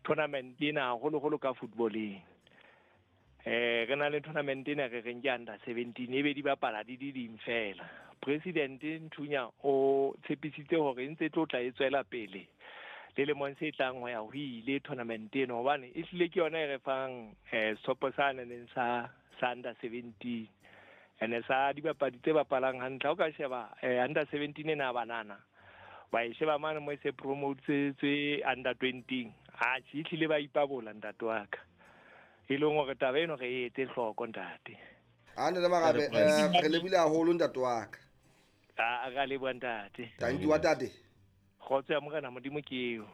Tournament ena haholoholo ka footballeng. Re na le tournament ena re reng ke under 17 ebe di bapala di di ding fela. President Nthunya o tshepisitse hore e ntse tlo tla e tswela pele le lemong se tlang ho ya ho ile tournament eno, hobane e hlile ke yona e re fang sehlopha sa neng sa under 17 ene sa dibapadi tse bapalang hantle. Ha o ka sheba under 17 ena banana ba e sheba mane mo e se promote under 20, atjhe e hlile ba ipabola ntate wa ka, e leng hore taba eno re e etse hloko ntate. A ntate Marabe, re lebile haholo ntate wa ka. A ka leboha ntate. Thank you wa tate. Kgotso ya Morena Modimo ke eo.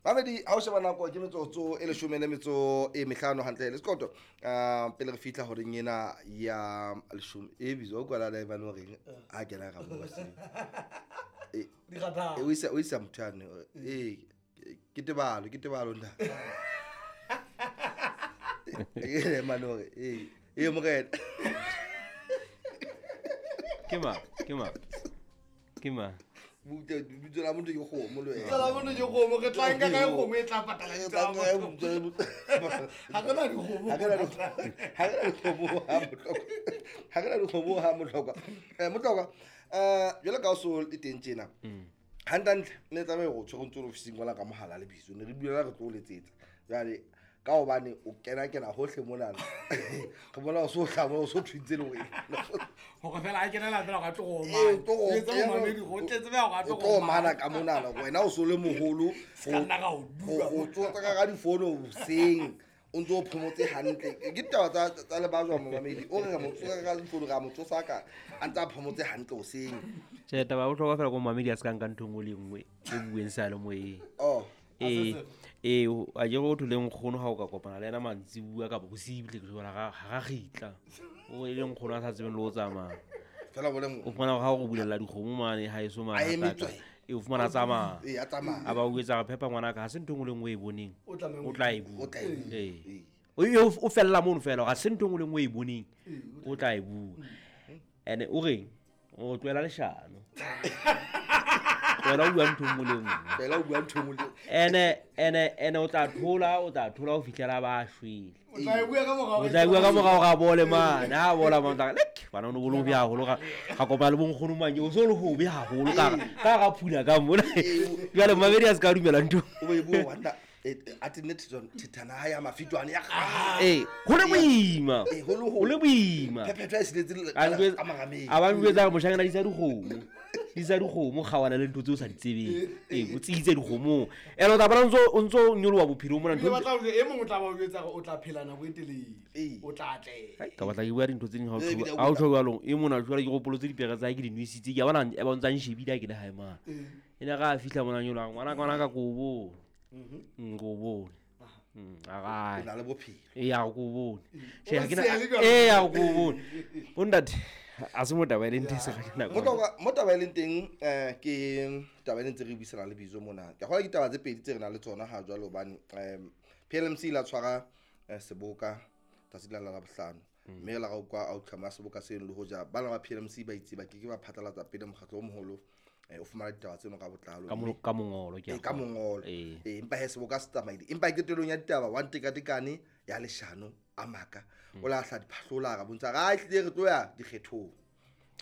Mamedi, ha o sheba nako ke metsotso e 15 hantle le sekoto. Pele re fihla horeng ena ya 10 e bizwa kwala la ebane horeng ha kena ra bua se. O isa motho yane. Ke tebalo nna. E manore e morena. Ke ma. Butse la motho ke kgomo le wena. Tsela motho ke kgomo, re tla nka ka kgomo e tla patala ditaba. Ha re na dikgomo. Ha re na dikgomo ha Motlokwa. Motlokwa, jwale ka o so le teng tjena. Hantle ne tlameha go tshwere ntse ofising kwala ka mohala le biso ne re bulela re tlo o letsetsa. Jwale ka hobane o kena hohle monana. Re bona o so hlama o so thwintse le wena. Hore fela a kenela fela ga tlo go mana. Tlo mamedi go tletse ba ga tlo go mana ka monana wena o so le moholo go tsotsa ka difono boseng o ntse o phomotse hantle. Ke ditaba tsa le ba jwa mamedi o re mo tsosa ka difono ga mo tsosa ka a ntse a phomotse hantle hoseng. Tjhe, taba ya bohlokwa fela ko mamedi a se ka nka ntho nngwe le nngwe e bueng sa le moyeng. Oh. A ke go thole nkgono ha o ka kopana le ena mantsibuya kapa bosibu tle ke jwala ga ga gitla. O e le nkgono a sa tsebeng le o tsamaya. Fela bole mo. O fumana ha o go bulela dikgomo mane ha eso mane. E o fumana tsamaya. A tsamaya. A ba o etsa phepa ngwana ka ha se ntho nngwe le nngwe e boneng. O tla e bua. O fella mono fela ga se ntho nngwe le nngwe e boneng. O tla e bua. Ene o reng? O tlohela leshano. Wena o bua ntho nngwe le nngwe. Fela o bua ntho nngwe le ene o tla thola ho fihlela ba shwele. O tla e bua ka morao. O tla e bua ka morao ga bole mane. Ha bola mane tla lek bana no bolo bya haholo ga kopana le bonkgono manye o so le hobe haholo ka ga phula ka mona. Jwale mamedi a se ka dumela ntho. O e bua wanda a tenne thethana ya mafitwane ya ho le boima. Ho le boima. Phephetho e siletse ka marameng. A ba njwetsa moshanyana di sa dikgomo. Di sa dikgomo kgawana le ntho tseo sa di tsebeng. O tsitse dikgomo. Ene o tla bona o ntso nyoloha bophelo mona ntho. Batla e mongwe o tla ba o jwetsa hore o tla phela nako e telele. O tla atleha. Ka batla ke bua dintho tse ding ha o tjho jwalo. E mona jwale ke gopolotse dipere tsa ke di nwisitse. Ke a bona e ba ntsa nshebile ha ke le hae mane. Ene ga a fihla mona nyoloha ngwana ka kobo. Ko bone. O na le bophelo. Ya ko bone. Tjhe ha ke na ya ko bone. Bontate a se mo taba e leng teng se ga nako. Mo taba e leng teng ke taba e leng tse re buisana le Bizo mona. Ke gola ditaba tse pedi tse re na le tsona ha jwale hobane PLMC la tshwara seboka tsatsi la la bohlano. Mme la ga kwa outcome ya seboka seno le hoja bana ba PLMC ba itse ba ke ba phatlalatsa pele mokgatlo o moholo o fumana ditaba tseno ka botlalo ka mongolo ke ka mongolo empa he seboka se tsamaile empa ketelong ya ditaba wa ntekatekane ya leshano a maka o la hla diphahlola ga bontsa ga tlile re tlo ya dikgethong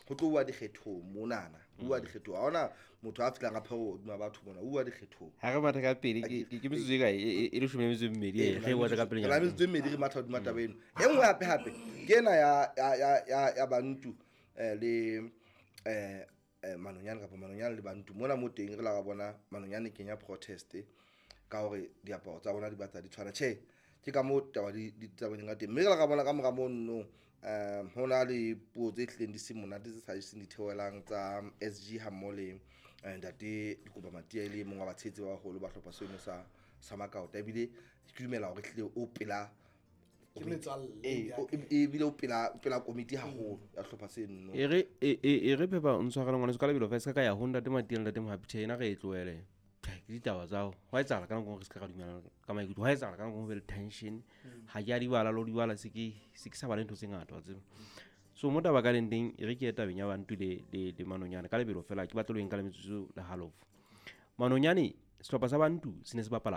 ho tlo bua dikgethong monana bua dikgethong ha ona motho a fihlang a pheo hodima batho mona bua dikgethong ha re matha ka pele ke metsotso e kae e 12 re bua ka pele nyana metsotso e mmedi re matha hodima taba eno e nngwe hape hape ke ena ya Bantu le Manonyane kapa Manonyane le Bantu mona mo teng re la ga bona Manonyane kenya protest ka hore diaparo tsa bona di batla di tshwana tjhe ke ka mo taba di tsabaneng ka teng mme re la ga bona ka mora mono ho na le puo tse hlileng di se monate tse sa iseng di theohelang tsa SG ha mmoho le ntate Dikopa Matia e le mong wa batshehetsi ba baholo ba hlopha seno sa Makaota ebile ke dumela hore hlile o pela ebile o pela komiti haholo ya hlopha seno. E re phepha o ntshwarele ngwaneso ka lebelo fa se ka ya ho ntate Matia le ntate Mohapi tjhe ena re e tlohele. Ke ditaba tsa ho etsahala ka nako re se ka ra dumela ka maikutlo ho etsahala ka nako ho be le tension ha ke a di bala lo di bala se ke sa bala ntho tse ngata wa tseba. So mo taba ka leng teng e re ke tabeng ya Bantu le Manonyane ka lebelo fela ke batla lo eng ka le metsotso le halofo. Manonyane sehlopha sa Bantu se ne se bapala